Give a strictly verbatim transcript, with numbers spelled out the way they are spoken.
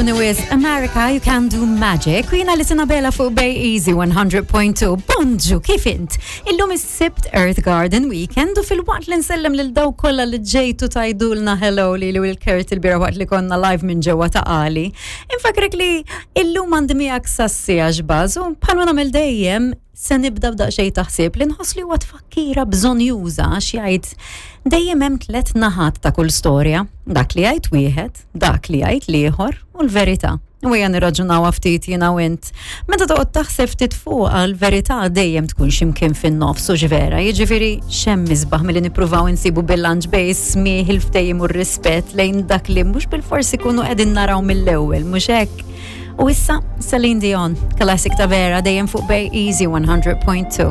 Jogħġobni wisq America, You Can Do Magic, u jiena Alison Abela fuq Bay Easy one hundred point two. Bonġu, kif int? Illum is-Sibt, Earth Garden Weekend, u filwaqt li nsellem lil dawk kollha li ġejtu tgħidulna hello li li l-Kurt il-bieraħ waqt li konna live minn ġewwa Ta' Qali. Infakrek li illum għandi miegħek sas-siegħa xbaż u bħalma nagħmel dejjem se nibda b'daqsxejn taħsib li nħoss li huwa tfakkira bżonnjuża, għax jgħid dejjem hemm tliet naħat ta' kull storja: dak li jgħid wieħed, dak li jgħid l-ieħor u l-verità. U ejja nirraġunaw ftit jiena u int. Meta toqgħod taħseb ftit fuq, l-verità dejjem tkun x'imkien fin-nofs u vera, jiġifieri x'hemm isbaħ milli nippruvaw insibu bilanċ bejn smigħ, il-ftehim u r-rispett lejn dak li mhux bilfors ikunu qegħdin naraw mill-ewwel, mhux hekk? U issa Celine Dion, classic ta' vera, dejjem fuq Bay Easy one hundred point two.